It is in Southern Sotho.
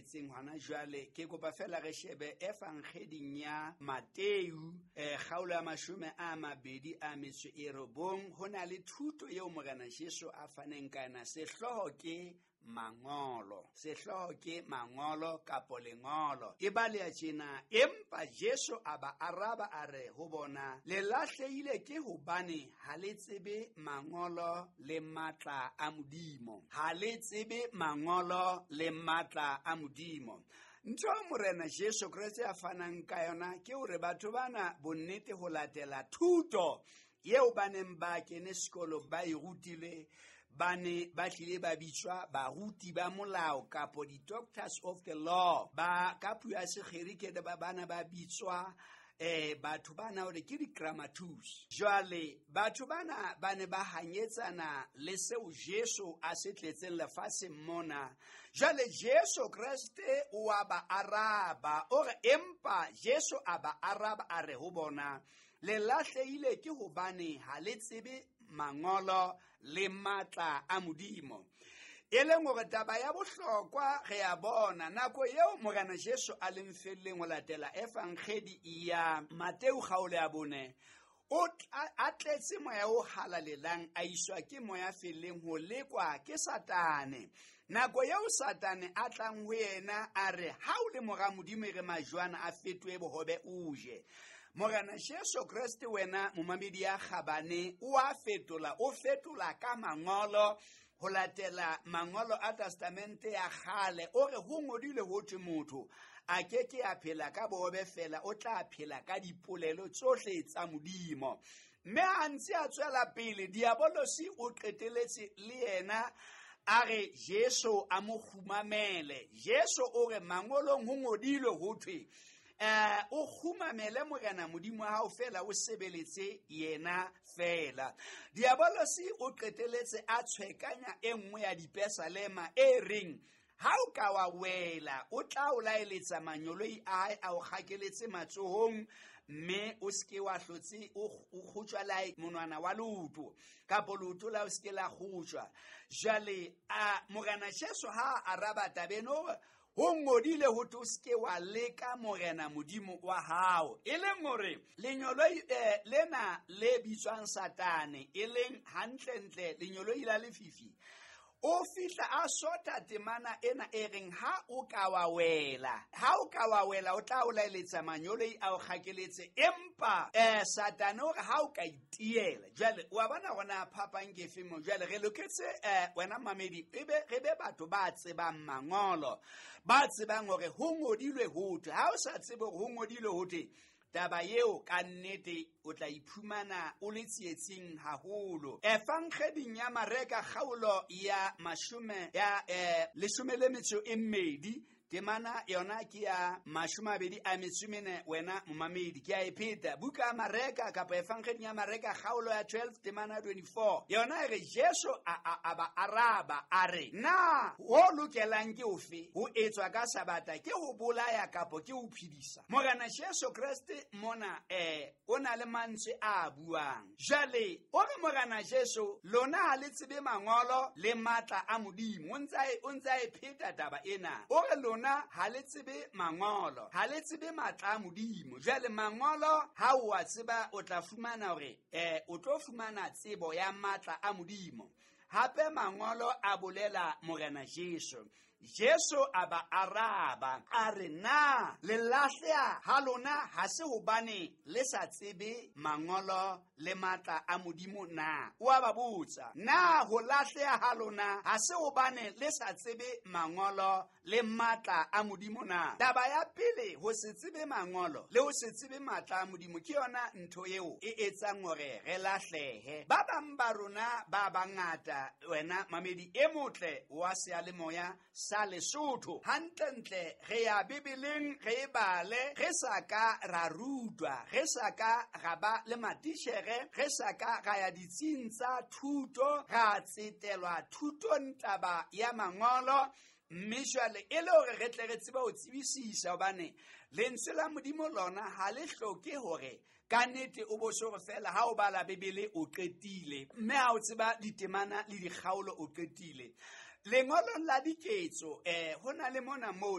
tletseng hona jwale. Ke kopa fela re shebe Evangeding ya Mateu, kgaolo ya 29. Ho na le thuto eo Morena Jesu a faneng ka yona. Sehlooho ke mangolo, sehlooho ke mangolo kapo lengolo. E baleha tjena: empa Jesu a ba araba a re ho bona, le lahlehile ke hobane ha le tsebe mangolo le matla a Modimo. Ha le tsebe mangolo le matla a Modimo. Ntho Morena Jesu Kreste a fanang ka yona ke hore batho bana bonnete ho latela thuto eo ba neng ba kene sekolo ba e rutile, ba ne ba tlile ba bitswa baruti ba molao kapo di-doctors of the law. Ba ka puo ya Segerike ba bana ba bitswa batho bana hore ke di-grammatus. Jwale batho bana ba ne ba hanyetsana le seo Jesu a se tletseng lefatsheng mona. Jwale Jesu Kreste o a ba araba, o re empa Jesu a ba araba a re ho bona, le lahlehile ke hobane ha le tsebe mangolo le matla a Modimo. E leng hore taba ya bohlokwa re a bona nako eo Morena Jesu a leng felleng ho latela Evangedi ya Mateu kgaolo ya 4, o a tletse moya o halalelang, a iswa ke moya felleng ho lekwa ke Satane. Nako eo Satane a tlang ho yena a re, ha o le mora Modimo, e re majwana a fetohe bohobe o je. Morena Jesu Kreste wena momamedi ya kgabane o a fetola, o fetola ka mangolo ho latela mangolo a Testamente ya kgale. O re ho ngodilwe ho thwe motho a ke ke a phela ka bohobe fela, o tla phela ka dipolelo tsohle tsa Modimo. Mme ha ntse a tswela pele, Diabolosi o qeteletse le yena a re Jesu a mo kgumamele. Jesu o re mangolong ho ngodilwe ho thwe o kgumamele Morena Modimo wa hao fela, o sebeletse yena fela. Diabolosi o qeteletse a tshwekanya e nngwe ya dipesalema e reng, ha o ka wa wela, o tla o laeletsa manyoloi a hae a o kgakeletse matsohong, mme o seke wa hlotse o kgotjwa la monwana wa leoto, kapo leoto la o seke la kgotjwa. Jwale a Morena Jesu ha a araba tabeng o re, ho ngodile ho thwe o seke wa leka Morena Modimo wa hao. E leng hore lenyoloi lena le bitswang Satane, e leng hantlentle lenyoloi la lefifi, o fihla a sotha temana ena e reng ha o ka wa wela, ha o ka wa wela o tla o laeletsa manyoloi a o kgakeletse. Empa Satane o re ha o ka itiela. Jwale wa bona hore phapang ke efe mo. Jwale re loketse wena mamedi ebe re be batho ba tsebang mangolo, ba tsebang hore ho ngodilwe ho thwe. Ha o sa tsebe hore ho ngodilwe ho thwe, taba eo ka nnete o tla iphumana o le tsietsing haholo. Evangeding ya Mareka kgaolo ya 12, temana yona ke ya 24. Wena momamedi ke a e pheta. Buka ya Mareka kapa Evangeding ya Mareka kgaolo ya 12 temana 24, yona e re Jesu a ba araba a re, na ho lokelang ke ofe ho etswa ka Sabata, ke ho bolaya kapo ke ho phedisa? Morena Jesu Kreste mona o na le mantswe a buang. Jwale o re Morena Jesu, lona ha le tsebe mangolo le matla a Modimo. O ntse a e pheta taba ena. O re lona ha le tsebe mangolo, ha le tsebe matla a Modimo. Jwale mangolo ha o a tseba, o tla fumana hore o tlo fumana tsebo ya matla a Modimo. Hape mangolo a bolela Morena Jesu. Jesu a ba araba a re, na le lahleha ha lona ha se hobane le sa tsebe mangolo le matla a Modimo na? O a ba botsa, na ho lahleha ha lona ha se hobane le sa tsebe mangolo le matla a Modimo na? Taba ya pele, ho se tsebe mangolo le ho se tsebe matla a Modimo ke yona ntho eo e etsang hore re lahlehe. Ba bang ba rona ba bangata, wena mamedi e motle wa seyalemoya sa Lesotho, hantlentle re ya Bibeleng re e bale, re sa ka ra rutwa, re sa ka ra ba le matitjhere, re sa ka ra ya ditsing tsa thuto, ra tsetelwa thutong taba ya mangolo. Mme jwale e le hore re tle re tsebe ho tsebisisa, hobane lentswe la Modimo lona ha le hloke hore ka nnete o bo so re fela ha o bala Bibele o qetile, mme ha o tseba ditemana le dikgaolo o qetile. Lengolong la Diketso ho na le mona moo